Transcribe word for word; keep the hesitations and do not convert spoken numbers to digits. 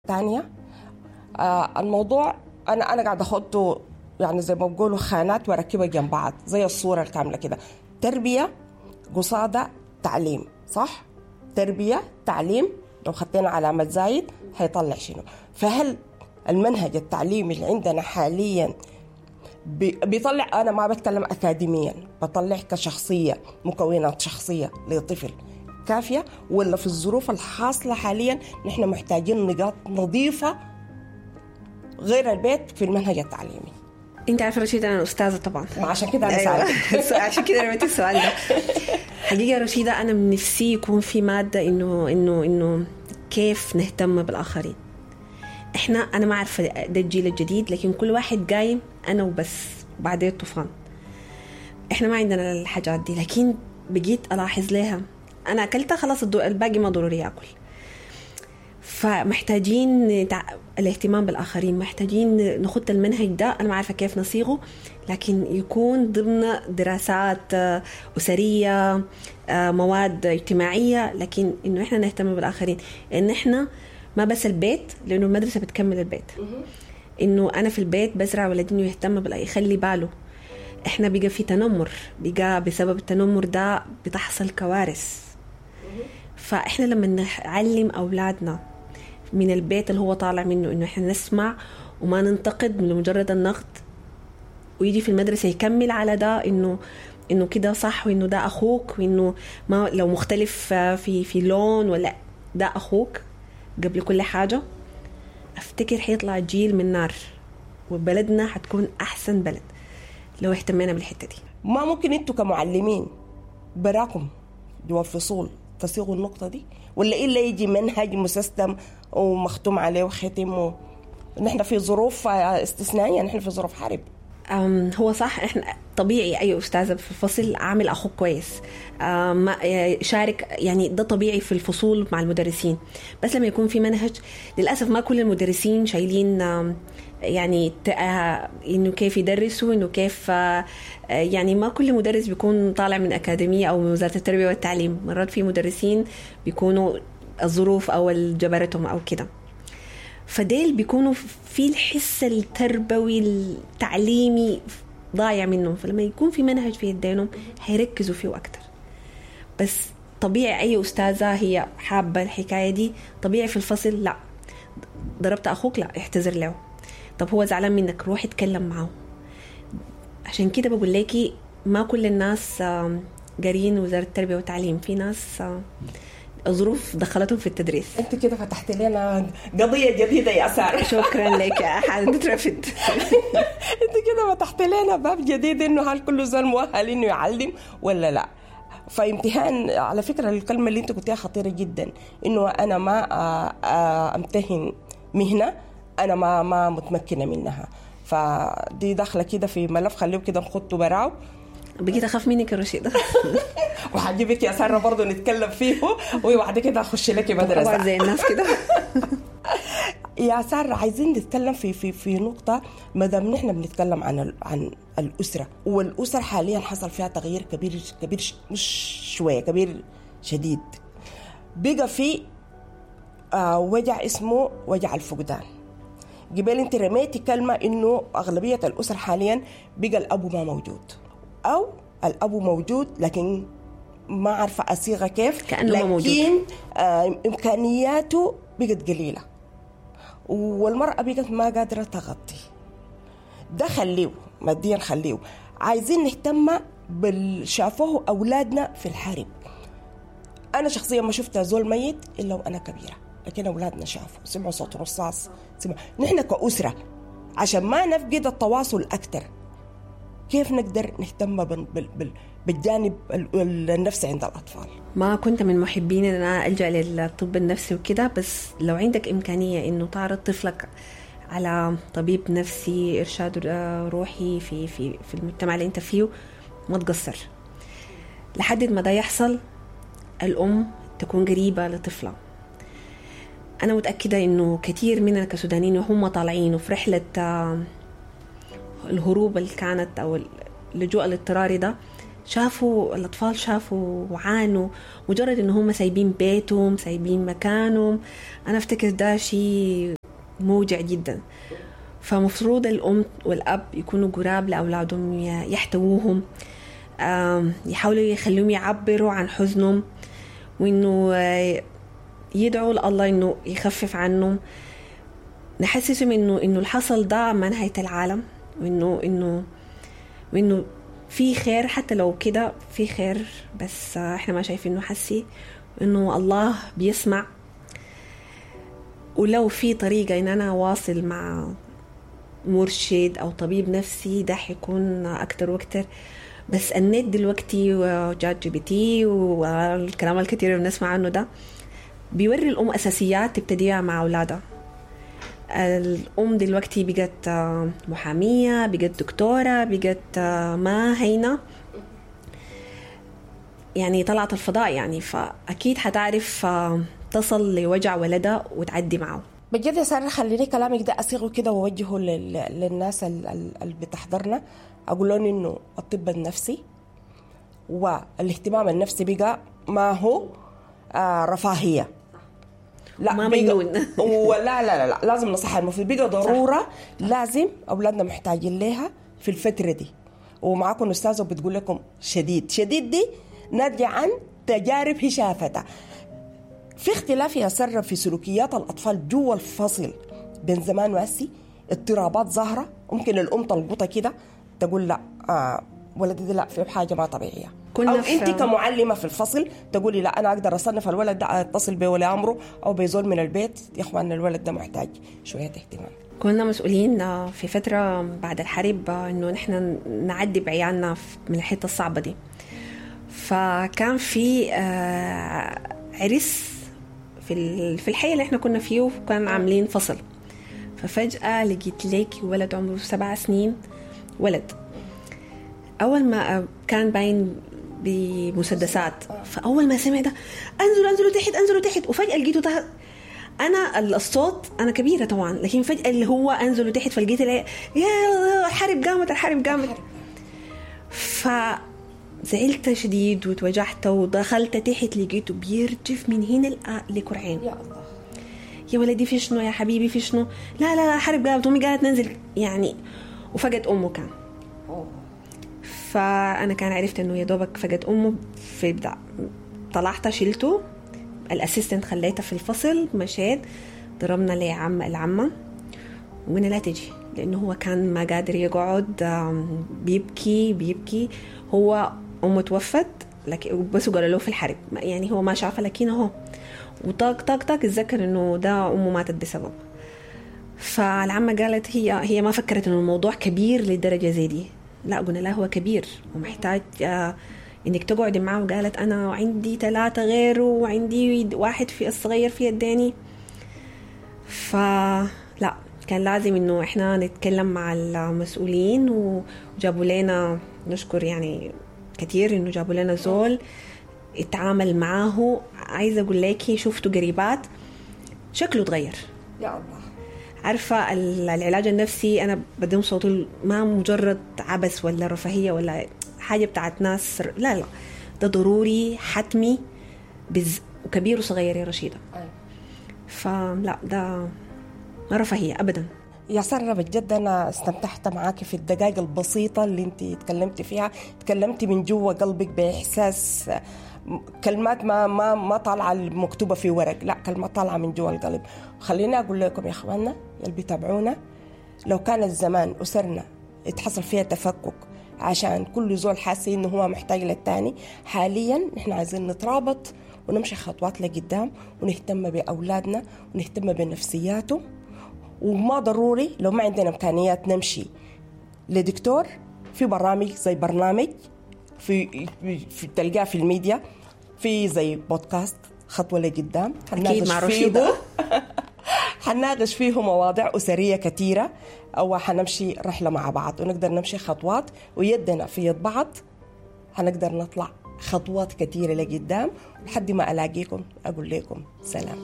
تانية. آه الموضوع انا انا قاعدة اخده يعني زي ما بقولوا خانات واركبها جنب بعض زي الصورة الكاملة كده. تربيه قصادة تعليم، صح؟ تربيه تعليم، لو خدينا علامة زايد هيطلع شنو؟ فهل المنهج التعليمي اللي عندنا حاليا بيطلع، انا ما بتكلم اكاديميا، بطلع كشخصية، مكونات شخصية لطفل كافيه، ولا في الظروف الحاصلة حاليا نحن محتاجين نقاط نظيفة غير البيت في المنهج التعليمي؟ انت عارفه رشيد انا استاذه طبعا، عشان كده انا سألتك. عشان كده رميت السؤال ده. حقيقة رشيده انا من نفسي يكون في مادة انه انه انه كيف نهتم بالاخرين. احنا انا ما عارفه ده الجيل الجديد، لكن كل واحد قايم انا وبس وبعدين الطوفان. احنا ما عندنا الحاجات دي، لكن بقيت الاحظ لها. انا اكلتها خلاص، الباقي ما ضروري اكل. فمحتاجين الاهتمام بالآخرين، محتاجين نخط المنهج ده. أنا ما عارفة كيف نصيغه، لكن يكون ضمن دراسات أسرية، مواد اجتماعية، لكن إنه إحنا نهتم بالآخرين. إن إحنا ما بس البيت، لأنه المدرسة بتكمل البيت. إنه أنا في البيت بزرع ولدي إنه يهتم بالآخرين، يخلي باله. إحنا بقى في تنمر، بقى بسبب التنمر ده بتحصل كوارث. فإحنا لما نعلم أولادنا من البيت اللي هو طالع منه إنه إحنا نسمع وما ننتقد لمجرد النقد، ويجي في المدرسة يكمل على ده، إنه إنه كده صح، وإنه ده أخوك، وإنه ما لو مختلف في في لون ولا ده أخوك قبل كل حاجة. أفتكر حيطلع جيل من نار، وبلدنا حتكون أحسن بلد لو اهتمينا بالحتة دي. ما ممكن أنتوا كمعلمين براكم جوا الفصول تصيغوا النقطة دي، ولا إلا يجي منهج مسيستم ومختوم عليه وختم و... نحن في ظروف استثنائية، نحن في ظروف حرب. هو صح، احنا طبيعي اي استاذه في الفصل عامل اخوك كويس، ما شارك، يعني ده طبيعي في الفصول مع المدرسين. بس لما يكون في منهج، للاسف ما كل المدرسين شايلين يعني انه كيف يدرسوا، انه كيف، يعني ما كل مدرس بيكون طالع من اكاديمية او من وزارة التربية والتعليم. مرات في مدرسين بيكونوا الظروف او جبرتهم او كده، فديل بيكونوا في الحس التربوي التعليمي ضايع منهم. فلما يكون في منهج في يدينهم هيركزوا فيه أكتر. بس طبيعي أي أستاذة هي حابة الحكاية دي، طبيعي في الفصل لا ضربت أخوك، لا احتذر له، طب هو زعلان منك روح اتكلم معه. عشان كده بقول لكي ما كل الناس قارين وزارة التربية والتعليم، في ناس الظروف دخلتهم في التدريس. انت كده فتحت لنا قضية جديدة يا ساره. شكرا لك يا حالة ترفد. انت كده فتحت لنا باب جديد، انه هل كل زول مؤهل انه يعلم ولا لا؟ فامتهان، على فكرة الكلمة اللي انت قلتيها خطيرة جدا، انه انا ما امتهن مهنة انا ما ما متمكنة منها. فدي داخله كده في ملف، خليه كده نخطه براو. بقيت اخاف منك يا رشيدة. وحجيبك يا ساره برضه نتكلم فيه، وبعد كده اخش لك مدرسه زي الناس كده. يا ساره عايزين نتكلم في في في نقطة، ما دام نحن بنتكلم عن عن الاسرة، والاسر حاليا حصل فيها تغيير كبير كبير، مش شوية، كبير شديد. بقى في آه وجع اسمه وجع الفقدان. قبل انت رميتي كلمة انه اغلبية الاسر حاليا بقى الاب ما موجود، أو الأب موجود لكن ما عارفة أصيغة كيف، كأنه ما موجود، لكن آه إمكانياته بقت قليلة، والمرأة بقت ما قادرة تغطي ده. خليه ماديا، خليه. عايزين نهتم بالشافوه أولادنا في الحرب. أنا شخصيا ما شفت زول ميت إلا وأنا كبيرة، لكن أولادنا شافوا، سمعوا صوت رصاص، سمعوا. نحن كأسرة عشان ما نفقد التواصل أكتر، كيف نقدر نهتم بالجانب النفسي عند الأطفال؟ ما كنت من محبين أن أنا ألجأ للطب النفسي وكده، بس لو عندك إمكانية إنه تعرض طفلك على طبيب نفسي، إرشاد روحي في في في المجتمع اللي أنت فيه، ما تقصر. لحد ما ده يحصل، الأم تكون قريبة لطفلها. أنا متأكدة إنه كثير مننا كسودانيين وهم طالعين وفي رحلة الهروب اللي كانت أو اللجوء الاضطراري ده، شافوا الأطفال، شافوا وعانوا مجرد إن هم سايبين بيتهم، سايبين مكانهم. أنا أفتكر ده شيء موجع جدا. فمفروض الأم والأب يكونوا قراب لأولادهم، يحتووهم، يحاولوا يخلوهم يعبروا عن حزنهم، وإنه يدعوا لله إنه يخفف عنهم، نحسسهم إنه إنه الحصل ده ما نهاية العالم، وإنه إنه وإنه في خير، حتى لو كده في خير، بس إحنا ما شايفينه حسي، إنه الله بيسمع. ولو في طريقة إن أنا أواصل مع مرشد أو طبيب نفسي ده حيكون أكتر وأكتر. بس النت دلوقتي و ChatGPT والكلام الكثير اللي بنسمع عنه ده بيوري الأم أساسيات تبتديها مع أولادها. الأم دلوقتي بقت محامية، بقت دكتورة، بقت ما هينة يعني، طلعت الفضاء يعني، فأكيد حتعرف تصل لوجع ولدها وتعدي معه. بجد يا سارة خليني كلامك ده أصيغه كده ووجهه للناس اللي بتحضرنا، أقول لهم إنه الطب النفسي والاهتمام النفسي بقى ما هو آه رفاهية، لا ما مجنون ولا لا لا لا، لازم نصحى، المفروض بقى ضرورة، لازم أولادنا محتاجين لها في الفترة دي. ومعاكم أستاذة بتقول لكم شديد شديد دي ناتجة عن تجارب هي شافتها. في اختلاف يا سارة في سلوكيات الأطفال جوا الفصل بين زمان وهسي، اضطرابات ظاهرة، ممكن الأم تلقطها كده تقول لا آه ولدي ده لا في حاجة ما طبيعية، أو أنت كمعلمة في الفصل تقولي لا أنا أقدر أصنف الولد ده، أتصل بولي أمره أو بيزول من البيت، يا إخوان الولد ده محتاج شوية اهتمام. كنا مسؤولين في فترة بعد الحرب إنه نحن نعدي بعيالنا من الحتة الصعبة دي، فكان في عرس في في الحي اللي احنا كنا فيه، وكان عاملين فصل. ففجأة لقيت ليك ولد عمره سبع سنين، ولد أول ما كان باين بمسدسات، فأول ما سمع ده أنزلوا أنزلوا تحت أنزلوا تحت، وفجأة لقيته تحت. أنا الصوت أنا كبيرة طبعا، لكن فجأة اللي هو أنزلوا تحت، فلقيت يا الحرب قامت الحرب قامت. فزعلت شديد وتوجعت ودخلت تحت، لقيته بيرجف من هنا لكرعين. يا الله يا ولدي في شنو يا حبيبي في شنو؟ لا لا لا حرب قامت، أمي قالت ننزل يعني، وفقد أمه كان. فأنا كان عرفت إنه يا دوبك فقد أمه في بدع. طلعت شلته الأسيستنت خليتها في الفصل، مشيت ضربنا لي عم العمة وقلنا لا تجي، لأنه هو كان ما قادر يقعد، بيبكي بيبكي. هو أمه توفت لكن بس قالوا له في الحرب يعني، هو ما شافها لكن هو وطاق طاق طاق اتذكر إنه ده أمه ماتت بسبب. فالعمة قالت هي هي ما فكرت إنه الموضوع كبير لدرجة زي دي، لا قلنا لا هو كبير ومحتاج آه انك تقعدي معه. وقالت انا عندي ثلاثة غيره وعندي واحد في الصغير في يديني. فلا كان لازم انه احنا نتكلم مع المسؤولين، وجابوا لنا نشكر يعني كثير انه جابوا لنا زول اتعامل معاه. عايزة اقول لك شفته قريبات شكله تغير يا الله. عارفة العلاج النفسي أنا بدون صوت ما مجرد عبث ولا رفاهية ولا حاجة بتاعت ناس، لا لا ده ضروري حتمي بز... وكبير وصغير يا رشيدة. فلا ده ما رفاهية أبدا. يا سارة بجد أنا استمتعت معاك في الدقائق البسيطة اللي انت تكلمتي فيها، تكلمتي من جوا قلبك بإحساس، كلمات ما ما ما طالعة مكتوبة في ورق، لا كلمات طالعة من جوا القلب. خليني أقول لكم يا إخواننا اللي بيتابعونا، لو كان الزمان أسرنا اتحصل فيها تفكك عشان كل زول حاسس إنه هو محتاج للتاني، حاليا نحن عايزين نترابط ونمشي خطوات لقدام، ونهتم بأولادنا ونهتم بنفسياتهم. وما ضروري لو ما عندنا إمكانيات نمشي لدكتور، في برامج زي برنامج في, في تلقاه في الميديا، في زي بودكاست خطوة لقدام أكيد مع رشيدة حنناقش فيه مواضيع أسرية كثيرة، أو حنمشي رحلة مع بعض ونقدر نمشي خطوات ويدنا في يد بعض، حنقدر نطلع خطوات كثيرة لقدام. لحد ما ألاقيكم أقول لكم سلام.